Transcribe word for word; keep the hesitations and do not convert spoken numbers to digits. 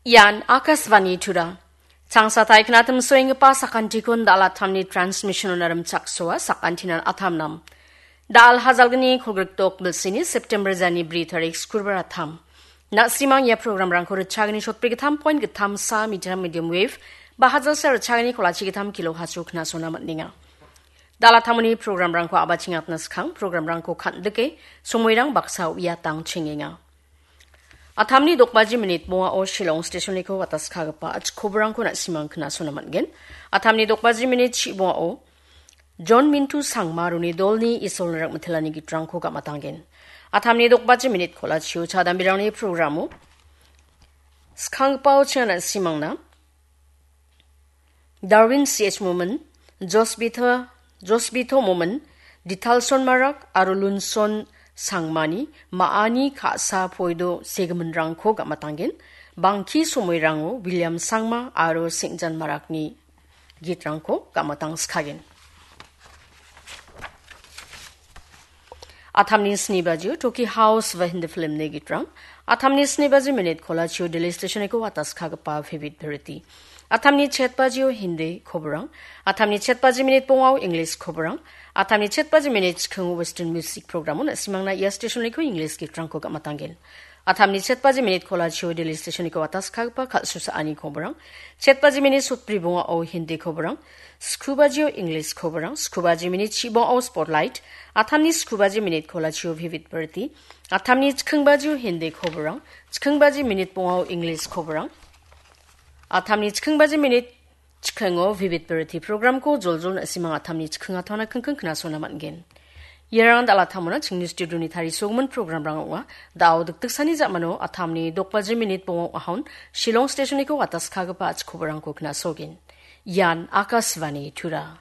Ian Akashvani Tura. Changsatai knatim soenggipa sakantikon dal·atamni transmission-ona rimchaksoa sakantinan atamnam. Dal hajalgni kolgrikdok bilsini September jani bri tarik skurbar atam. Na·simang ia programrangko ritchagni shotbri gittam point gittam sa meter medium wave, ba hajalsa ritchagni kolachi gittam kilo hasu knasona man·enga. Dal·atamoni programrangko abachingatna skang programrangko kan·dike somoirang baksa uiatang chengenga. Atamni dokbaji minit bongao Shillong stationniko wataskagipa achikobrangko na·simang knasona man·gen. Atamni dokbaji minit chi bongao John Mintu Sangma roni dolni Isolni rakmitelani gitrangko gam·atangen. Atamni dokbaji minit kolachio chadambirangni programo skanggipao chinga na·simangna Darwin C H Momin, Josbita, Josbito Momin, Ditalson Marak aro Lunson Sangmani ma·ani ka·sa poido segiminrangko gam·atangen, bangki somoirango William Sangma aro Sengjan Marakni gitrangko gam·atangskagen. Atamni sni bajio Toki House va Hindi filmni gitrang. Atamni sni baji minit kolachio Delhi stationniko wataskagipa Vivid Bharati. Atamni chet bajio Hindi koborang. Atamni chet baji minit bongao English koborang. Atamni chet baji minit chikingo Western music programo na·simangna ia stationniko English gitrangko gam·atangen. Atamni chet baji minit kolachio Delhi stationniko wataskagipa kal·susaani koborang. Chet baji minit sotbri bongao Hindi koborang. Sku bajio English koborang. Sku baji minit chi bongao Spotlight. Atamni sku baji minit kolachio Vivid Bharati. Atamni chiking bajio Hindi koborang. Chiking baji minit bongao English koborang. Atamni chiking baji minit chikingo Vivid Bharati programko joljol na·simang atamni chiking atona kingking knasona man·gen. Iarang dal·atamona chingni studioni tarisogimin programrang ong·a. Da·o dikdiksani ja·mano atamni dokbaji minit bongao ahon Shillong stationniko wataskagipa achikoborangko knasogen. Ian Akashvani Tura.